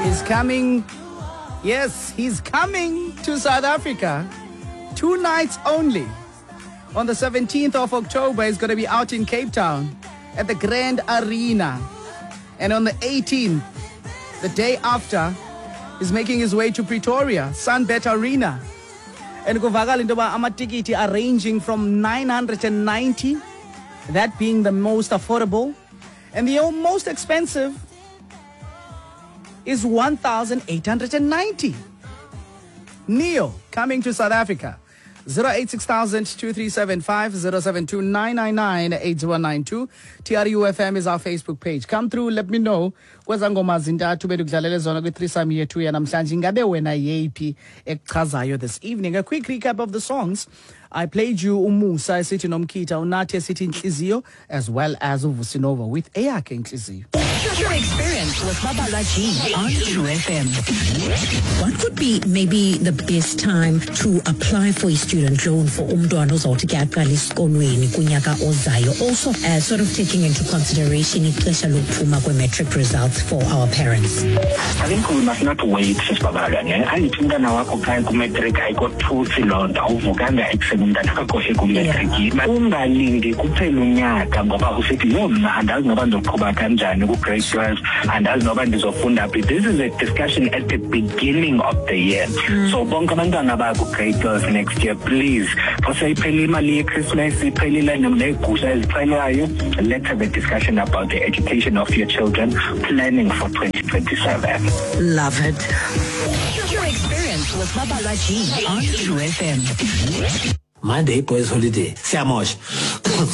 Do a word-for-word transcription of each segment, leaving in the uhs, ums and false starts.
Is coming, yes, he's coming to South Africa. Two nights only. On the seventeenth of October, he's going to be out in Cape Town at the Grand Arena. And on the eighteenth, the day after, he's making his way to Pretoria, Sunbet Arena. And kuvakala into yoba amatikiti are ranging from nine hundred and ninety, that being the most affordable, and the most expensive is one thousand eight hundred and ninety. Ne-Yo coming to South Africa. zero eight six thousand two three seven five, zero seven two nine nine nine eight one nine two. T R U F M is our Facebook page. Come through, let me know. Kweza ngoma zintathu bedikudlalele zona kwi-threesome yethu yanamhlanje, ingabe wena yeyiphi ekuchazayo this evening? A quick recap of the songs I played you: uMusa esithi Nomkhitha, uNathi esithi Intliziyo, as well as uVusinova with eyakhe Intliziyo. Your experience with Babalwa G on True F M. What could be maybe the best time to apply for a student loan for umntwana ozawuthi ke aqale esikolweni kunyaka ozayo? Also, uh, sort of taking into consideration ixesha lokuphuma kwe-matric results for our parents. I think we must not wait, sisibabalwa, ne. Andithi umntana wakho xa ekumatric, ayikothusi loo nto, awuvukanga ekuseni umntana wakho ekumatric. Ungalindi kuphela unyaka ngoba usithi, "Yho, mna andazi noba ndizoqhuba kanjani ku-grade twelve, andazi noba ndizofunda phi." This is a discussion at the beginning of the year. So bonke abantwana baku-grade twelve next year, please, xa seyiphelile imali yeChristmas, iphelile neegusha ezixhelwayo, let's have a discussion about the education of your children, planning for twenty twenty-seven. Love it. Your experience with Babalwa G on True F M. Monday boys holiday, siyamosha.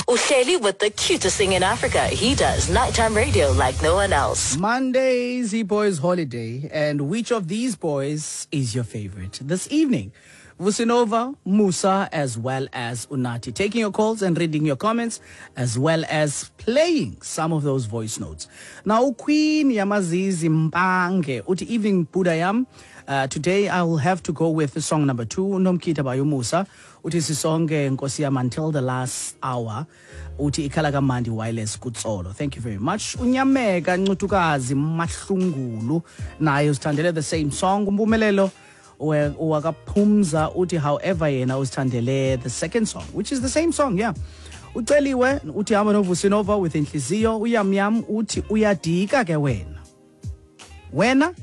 Uhleli with the cutest thing in Africa. He does nighttime radio like no one else. Monday's E-Boys Holiday, and which of these boys is your favorite this evening? Vusinova, Musa, as well as Unati. Taking your calls and reading your comments, as well as playing some of those voice notes. Now, Queen Yamazizi Mpange, uthi, "Evening, Budayam. Uh, today I will have to go with song number two, Nomkhitha by Musa. Uthi sisonke nkosi yam until the last hour. Uthi ikhala kamandi wireless kutsolo." Thank you very much. Unyameka Ncutukazi Mahlungulu naye usithandele the same song. Umpumelelo wakaphumza uthi, however, yena usithandele the second song, which is the same song, yeah. Uceliwe uthi hamba noVusinova with Intliziyo. Uyamyam uthi uyadika ke wena. Wena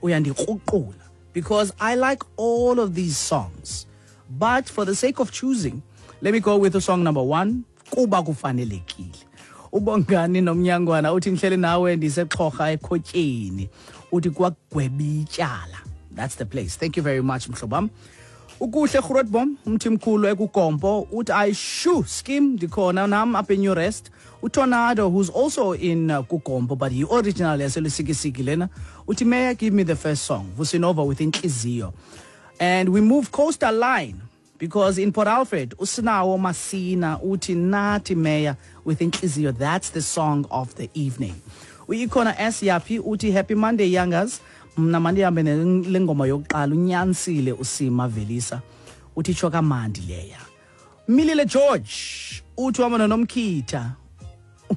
uyandikruqula because I like all of these songs. But for the sake of choosing, let me go with the song number one, kuba kufanelekile. Ubongani nomnyangwana uthi ngihleli nawe ndisexhorha ekhotyeni, uthi kwagweba ityala. That's the place. Thank you very much, mhlobam. Ukuhle Grootbom umthimkhulu ekuGompo uthi ayishu scheme, ndikhona nam apha eNew Rest. UTornado, who's also in uh, kuGompo, but he originally yaseLusikisiki lena, uthi, "May I give me the first song, Vusinova with Intliziyo." And we move coastal line because in Port Alfred, usinawo Masina uthi Nathi Mayor with Intliziyo. That's the song of the evening. Uyikhona S Yapi uthi, "Happy Monday, youngers. Mna mandihambe le ngoma yokuqala, unyanisile uSima Velisa." Uthi tsho kamandi leya. Milile George uthi uhamba noNomkhitha,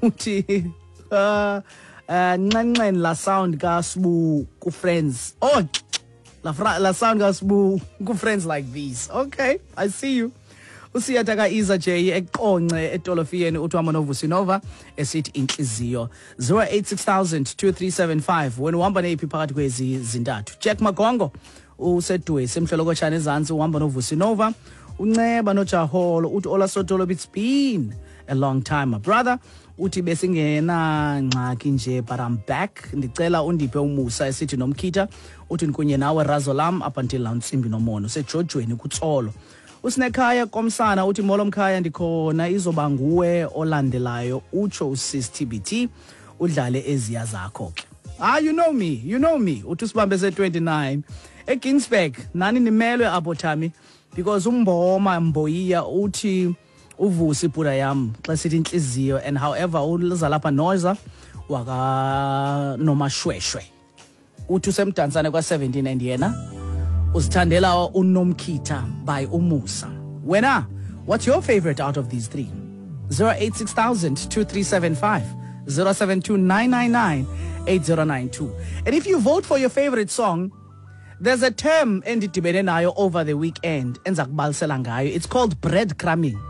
uthi uh uh nxenxen la sound kaSibu ku Friends. Oh, la, fra, la sound kaSibu ku Friends Like These. Okay, I see you. Usiyatha ka-Iza J eqonce etolofiyeni uthi uhamba noVusinova esithi Intliziyo. zero eight six thousand two three seven five, wena uhamba neyiphi phakathi kwezi zintathu? Jack Magongo usedwesi emhlolokotshana ezantsi, uhamba noVusinova. Unceba nojaholo uthi, "Ola Sotolo, it's been a long time, my brother." Uthi besingenangxaki nje, but I'm back. Ndicela undiphe uMusa esithi Nomkhitha. Uthi ndikunye nawe razo lam up until la ntsimbi nomono usejojweni kutsolo. Usinekhaya komsana uthi, "Molo mkhaya, ndikhona, izoba nguwe olandelayo." Utsho usis T B T udlale eziya zakho ke. Ah, you know me, you know me. Uthi usibambe se twenty-nine eGinsberg, nani nimelwe apho Thami, because umboma Mboyiya uthi uvusi ibhuda yam xa sithi Intliziyo, and however uza lapha noza waka Nomashweshwe uthi usemdantsane kwa seventeen and yena uzithandela uNomkhitha by uMusa. Wena, what's your favorite out of these three? zero eight six thousand two three seven five, zero seven two nine nine nine eight zero nine two. And if you vote for your favorite song, there's a term endidibene nayo over the weekend enza kubalisela ngayo. It's called breadcrumbing.